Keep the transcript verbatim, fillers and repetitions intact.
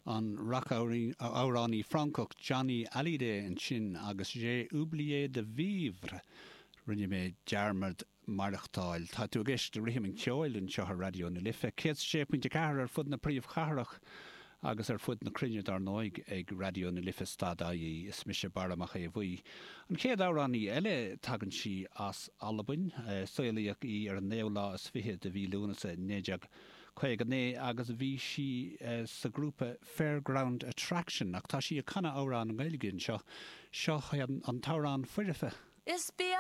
An rac-amhránaí Francach Johnny Hallyday ansin agus J'ai oublié de vivre rinne mé dearmad maireachtáil. Tá tú ag éisteacht le Rithim an Cheoil anseo ar Raidió na Life, céad sé pointe ceathair ar fud na príomhchathrach agus ar fud na cruinne dar ndóigh ag Raidió na Life dot ie is mise Barra Mac Aodha Bhuí. An chéad amhránaí eile tagann sí as Albain, saolaíodh í ar an naoú lá is fiche de mhí Lúnasa naoi déag caoga naoi agus bhí sí sa grúpa Fairground Attraction ach tá sí ag canadh amhrán Gaeilge anseo seo an t-amhrán foirfe. Is bia